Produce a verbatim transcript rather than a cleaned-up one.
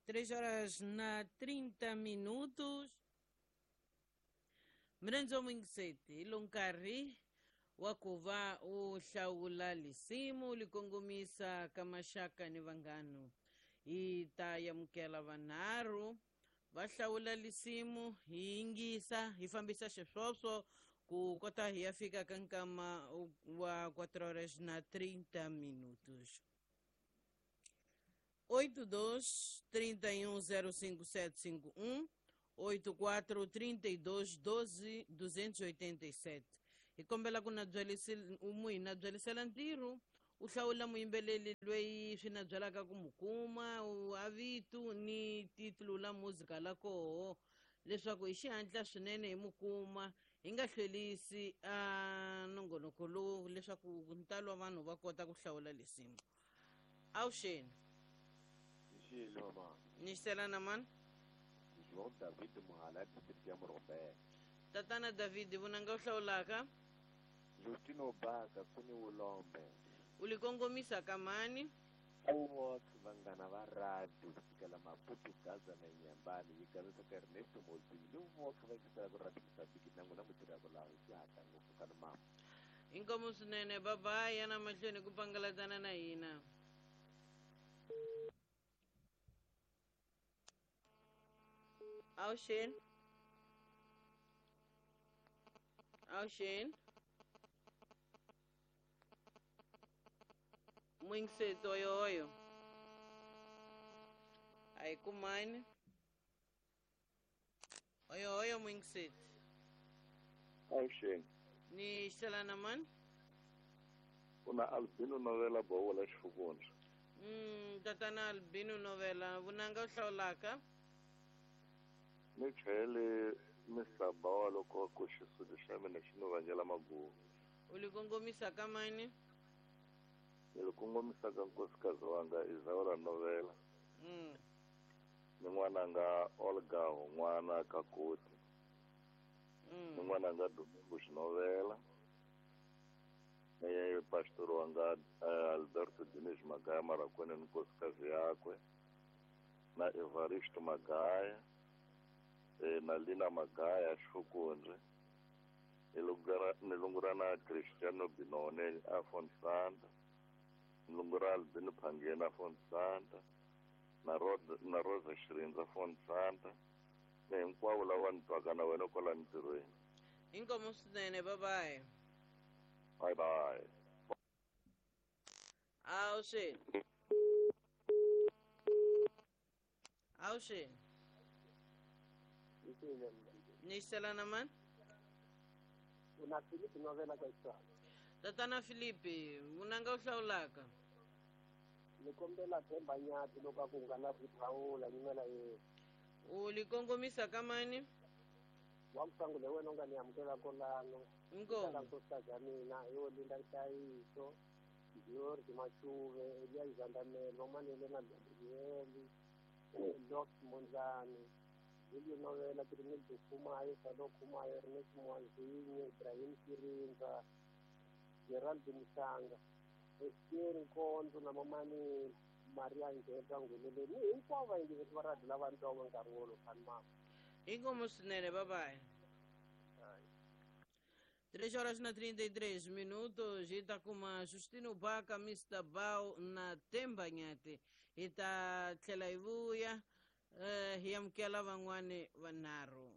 Três horas na trinta minutos. Mirenzo Mwingiseti, ilo nkarhi wa ku va u hlawula lisimu li kongomisa ka maxaka ni vanghano. Hi ta amukela vanharhu va hlawula lisimu, hi yingisa, hi fambisa xiswoswo ku kota hi ya fika ka nkama wa quatro horas na trinta minutos. oito dois, trinta e um, zero cinco sete cinco um, oito quatro, trinta e dois, doze, duzentos e oitenta e sete. Hi kombela ku na byelisi umwe na byelisela ntirho u hlawula muyimbeleli loyi swi na byelaka ku mu kuma u avitu ni titulu la muzika la koho leswaku hi xihatla swinene hi mu kuma hi nga hlwerisi a nongonoko lowu leswaku ntalo wa vanhu va kota ku hlawula lisimu. Avuxeni. Mama. Ni na mani? João David Muhala, distrito ya Morombela. Tatana David, vunanga u hlawulaka? Justino Baka, kuni Ulombe. U li kongomisa ka mani? Uwot vanghana va radio kusukela Maputo, Gaza na Nyambani, yi kandziyisa ka Ernesto Mozini ni voxe va yingisela ku radio Mozambique na n'wina mutirhaka laha hi xihatla ngopfu ka ni mama. Inkomu swinene, bye-bye, yana mahlweni ku pangalatana na hina. Avuxeni. Avuxeni. Mwingiseti oyoyo. A hi kumani. Oyoyo mwingiseti. Avuxeni. Ni xela na mani? Kuna Albino Novela Bowola Xifukundza. Mm, tatana Albino Novela, vunanga u hlawulaka? Ni chayele Mister Bawa loko ku xisuti xa mina xi ni vangela maguvu. U li kongomisa ka mani? Ni li kongomisa ka nkosikazi wanga Isaura Novela. Mm. Ni n'wananga Olga Hon'wana Kakoti. Mm. Ni n'wananga Domingo Novela. Ni pastor wanga Alberto Diniz Magaya Marakweni ni nkosikazi yakwe. Na Evaristo Magaya. Na Lina Magaya Xifukundze. Ni lungura na Cristiano Binone Afon Santa. Ni lungura Albino Phangeni Afon Santa. Na Rosa, na Rosa Xirindza Afon Santa. Ni hinkwavo lava ni twaka na wena kwala ntirhweni. Inkomu swinene, bye-bye. Bye-bye. Avuxeni. Avuxeni. Ni xela na mani? Una Filipe Novela ka Xitsonga. Tatana Filipe, vunanga u hlawulaka? Ni kombela Themba Nyathi loko a ku nga na ku hlawula nyimela yena. U li kongomisa ka mani? Wa msangule wena u nga ni amukela kolano. Inkomu. Nkosikazi ya mina yo Linda Nhlayiso, George Machuve, Elias Zandamelo, Manele na Gabriel, Doc Monzani, Julio Novela, Trinidad Khumayo, Salo Khumayo, Ernest Mwanzinye, Ibrahim Kirinza, Gerald Musanga, Estienne Nkonzo na mamani Maria Ngeta Ngulele. Ni hinkwavo vayingiseri va radio lava ni twaka nkarhi wolowo fani mama. Inkomu swinene, bye-bye. Três horas na trinta e três minutos, hi ta kuma Justino Baka, Mister Bao na Themba Nyathi. Hi ta tlhela hi vuya, eh, hi amukela van'wani vanharhu.